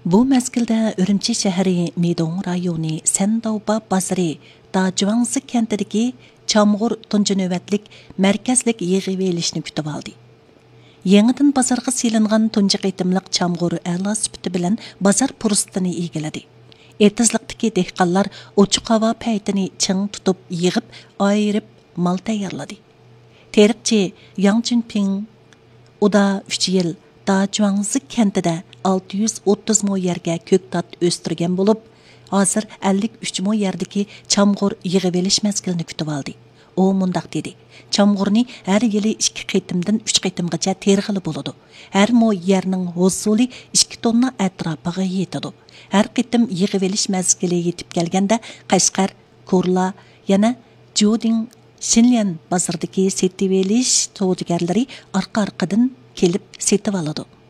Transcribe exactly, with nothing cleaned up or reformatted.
بۇ مەزگىلدە ئۈرۈمچى شەھىرى مىدوڭ رايونى سەنداۋبا بازىرى داجۇاڭزى كەنتىدىكى چامغۇر تۇنجى نۆۋەتلىك مەركەزلىك يىغىۋېلىشنى كۈتۈۋالدى. يېڭىدىن بازارغا سېلىنغان تۇنجى قېتىملىق چامغۇر ئەلا سۈپىتى بىلەن بازار پۇرسىتىنى ئىگىلىدى. ئېتىزلىقتىكى دېھقانلار ئوچۇق ھاۋا پەيتىنى چىڭ تۇتۇپ يىغىپ، ئايرىپ مال تەييارلىدى. تېرىقچى ياڭ جۈنپىڭ ئۇدا ئۈچ يىل داجۇاڭزى كەنتىدە ئالتە يۈز ئوتتۇز مو يەرگە كۆكتات ئۆستۈرگەن بولۇپ، ھازىر ئەللىك ئۈچ مو يەردىكى چامغۇر يىغىۋېلىش مەزگىلىنى كۈتۈۋالدى. ئۇ مۇنداق دېدى: «چامغۇرنى ھەر يىلى ئىككى قېتىمدىن ئۈچ قېتىمغىچە تېرىغىلى بولىدۇ. ھەر مو يەرنىڭ ھوسۇلى ئىككى توننا ئەتراپىغا يېتىدۇ. ھەر قېتىم يىغىۋېلىش مەزگىلى يېتىپ كەلگەندە، قەشقەر، كورلا، يەنە جۇدىڭ، شىنليەن بازىرىدىكى سېتىۋېلىش سودىگەرلىرى ئارقا-ئارقىدىن كېلىپ سېتىۋالىدۇ.»